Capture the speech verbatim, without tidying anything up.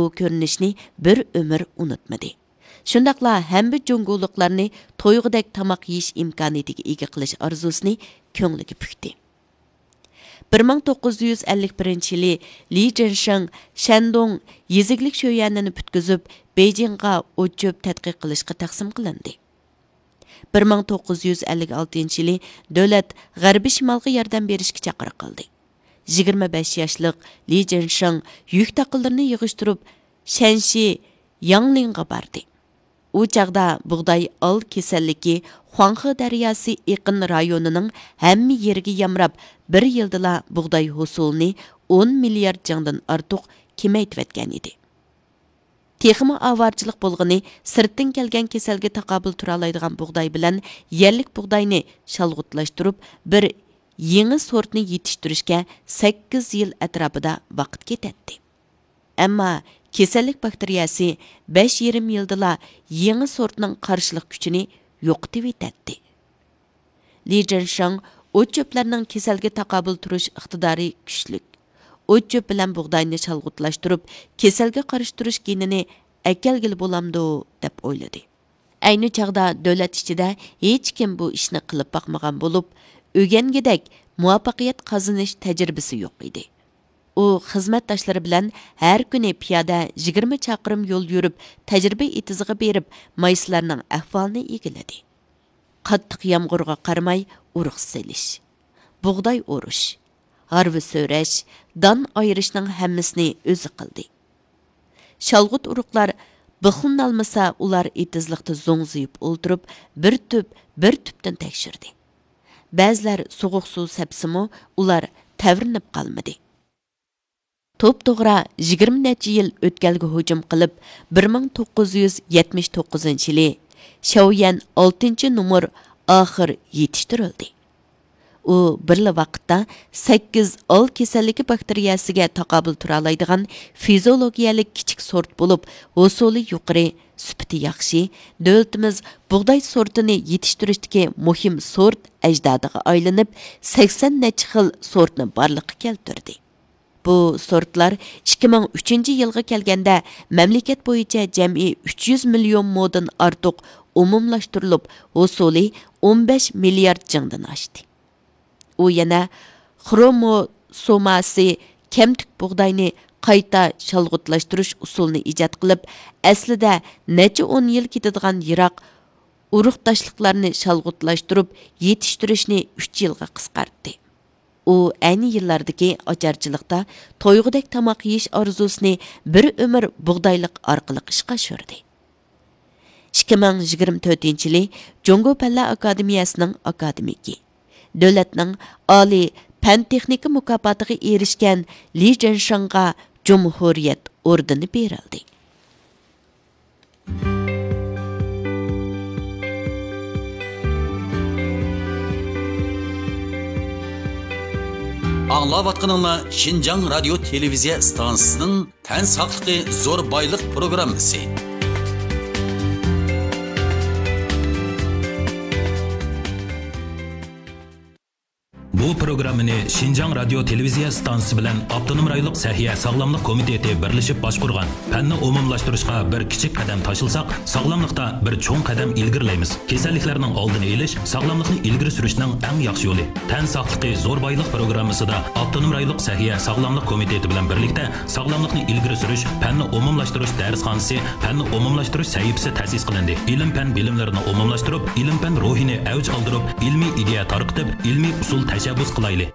بۇ كۆرۈنۈشنى بىر ئۆمۈر ئۇنتۇمىدى. شۇنداقلا ھەممە جۇڭگولۇقلارنى تويغۇدەك تاماق يېيىش ئىمكانىيىتىگە ئىگە قىلىش ئارزۇسىنى كۆڭلىگە پۈكتى. بىر مىڭ توققۇز يۈز ئەللىك بىرىنچى يىلى لى جىنشېڭ شەندۇڭ يېزا ئىگىلىك شۆيەنىنى پۈتكۈزۈپ، بېيجىڭغا ئوت-چۆپ تەتقىق قىلىشقا تەقسىم قىلىندى. بىر مىڭ توققۇز يۈز ئەللىك ئالتىنچى يىلى دۆلەت غەربىي شىمالغا ياردەم بېرىشكە چاقىرىق قىلدى. يىگىرمە بەش ياشلىق لى جىنشېڭ يۈك تاقىلىرىنى يىغىشتۇرۇپ، شەنشى ياڭلىڭغا باردى. ئۇ چاغدا بۇغداي ئال كېسەللىكى خۇاڭخې دەرياسى ئېقىن رايونىنىڭ ھەممە يېرىگە يامراپ، بىر يىلدىلا بۇغداي ھوسۇلىنى ئون مىليارد جىڭدىن ئارتۇق كېمەيتىۋەتكەن ئىدى. تېخىمۇ ئاۋارىچىلىق بولغىنى، سىرتتىن كەلگەن كېسەلگە تاقابىل تۇرالايدىغان بۇغداي بىلەن يەرلىك بۇغداينى شالغۇتلاشتۇرۇپ، بىر يېڭى سورتنى يېتىشتۈرۈشكە سەككىز يىل ئەتراپىدا ۋاقىت كېتەتتى. ئەمما كېسەللىك باكتېرىيەسى بەش يېرىم يىلدىلا يېڭى سورتنىڭ قارشىلىق كۈچىنى يوقىتىۋېتەتتى. لى جىنشېڭ ئوت-چۆپلەرنىڭ كېسەلگە تاقابىل تۇرۇش ئىقتىدارى كۈچلۈك، ئوت-چۆپ بىلەن بۇغداينى شالغۇتلاشتۇرۇپ، كېسەلگە قارشى تۇرۇش گېنىنى ئەكەلگىلى بولامدۇ، دەپ ئويلىدى. ئەينى چاغدا دۆلەت ئىچىدە ھېچكىم بۇ ئىشنى قىلىپ باقمىغان بولۇپ، ئۆگەنگۈدەك مۇۋەپپەقىيەت قازىنىش تەجرىبىسى يوق ئىدى. ئۇ خىزمەتداشلىرى بىلەن ھەر كۈنى پىيادە يىگىرمە چاقىرىم يول يۈرۈپ، تەجرىبە ئېتىزىغا بېرىپ، مايسىلارنىڭ ئەھۋالىنى ئىگىلىدى. قاتتىق يامغۇرغا قارىماي ئۇرۇق سېلىش، بۇغداي ئورۇش، ھارۋا سۆرەش، دان ئايرىشنىڭ ھەممىسىنى ئۆزى قىلدى. شالغۇت ئۇرۇقلار بىخلىنالمىسا، ئۇلار ئېتىزلىقتا زوڭزىيىپ ئولتۇرۇپ، بىر تۈپ، بىر تۈپتىن تەكشۈردى. بەزىلەر سوغۇق سۇ سەپسىمۇ، ئۇلار تەۋرىنىپ قالمىدى. توپتوغرا يىگىرمە نەچچە يىل ئۆتكەلگە ھۇجۇم قىلىپ، بىر مىڭ توققۇز يۈز يەتمىش توققۇزىنچى يىلى شياۋيەن ئالتىنچى نومۇر ئاخىر يېتىشتۈرۈلدى. ئۇ بىرلا ۋاقىتتا سەككىز ئال كېسەللىكى باكتېرىيەسىگە تاقابىل تۇرالايدىغان فىزىئولوگىيەلىك كىچىك سورت بولۇپ، ھوسۇلى يۇقىرى، سۈپىتى ياخشى، دۆلىتىمىز بۇغداي سورتىنى يېتىشتۈرۈشتىكى مۇھىم سورت ئەجدادىغا ئايلىنىپ، سەكسەن نەچچە خىل سورتنى بارلىققا كەلتۈردى. بۇ سورتلار ئىككى مىڭ ئۈچىنچى يىلغا كەلگەندە، مەملىكەت بويىچە جەمئىي ئۈچ يۈز مىليون مودىن ئارتۇق ئومۇملاشتۇرۇلۇپ، ھوسۇلى ئون بەش مىليارد جىڭدىن ئاشتى. ئۇ يەنە خروموسوماسى كەمتۈك بۇغداينى قايتا شالغۇتلاشتۇرۇش ئۇسۇلىنى ئىجاد قىلىپ، ئەسلىدە نەچچە ئون يىل كېتىدىغان يىراق ئۇرۇقداشلىقلارنى شالغۇتلاشتۇرۇپ يېتىشتۈرۈشنى ئۈچ يىلغا قىسقارتتى. ئۇ ئەينى يىللاردىكى ئاچارچىلىقتا تويغۇدەك تاماق يېيىش ئارزۇسىنى بىر ئۆمۈر بۇغدايلىق ئارقىلىق ئىشقا ئاشۇردى. ئىككى مىڭ يىگىرمە تۆتىنچى يىلى جۇڭگو پەنلەر ئاكادېمىيەسىنىڭ ئاكادېمىكى، دۆلەتنىڭ ئالىي پەن-تېخنىكا مۇكاپاتىغا ئېرىشكەن لى جىنشېڭغا جۇمھۇرىيەت ئوردېنى بېرىلدى. ئاڭلاۋاتقىنىڭلار شىنجاڭ رادىيو تېلېۋىزىيە ئىستانسىسىنىڭ تەن ساقلىقى زور بايلىق پروگراممىسى. بۇ پروگراممىنى شىنجاڭ رادىيو تېلېۋىزىيە ئىستانسىسى بىلەن ئاپتونوم رايونلۇق سەھىيە ساغلاملىق كومىتېتى بىرلىشىپ باشقۇرغان. پەننى ئومۇملاشتۇرۇشقا بىر كىچىك قەدەم تاشلىساق، ساغلاملىقتا بىر چوڭ قەدەم ئىلگىرىلەيمىز. كېسەللىكلەرنىڭ ئالدىنى ئېلىش، ساغلاملىقنى ئىلگىرى سۈرۈشنىڭ ئەڭ ياخشى يولى. تەن ساقلىقى زور بايلىق پروگراممىسىدا ئاپتونوم رايونلۇق سەھىيە ساغلاملىق كومىتېتى بىلەن بىرلىكتە ساغلاملىقنى ئىلگىرى سۈرۈش، پەننى ئومۇملاشتۇرۇش دەرسخانىسى، پەننى ئومۇملاشتۇرۇش سەھىپىسى تەسىس قىلىندى. ئىلىم-پەن بىلىملىرىنى ئومۇملاشتۇرۇپ، ئىلىم-پەن روھىنى ئەۋج ئالدۇرۇپ، ئىلمىي ئىدىيە تارقىتىپ، ئىلمىي ئۇسۇل تەشەببۇس قىلايلى.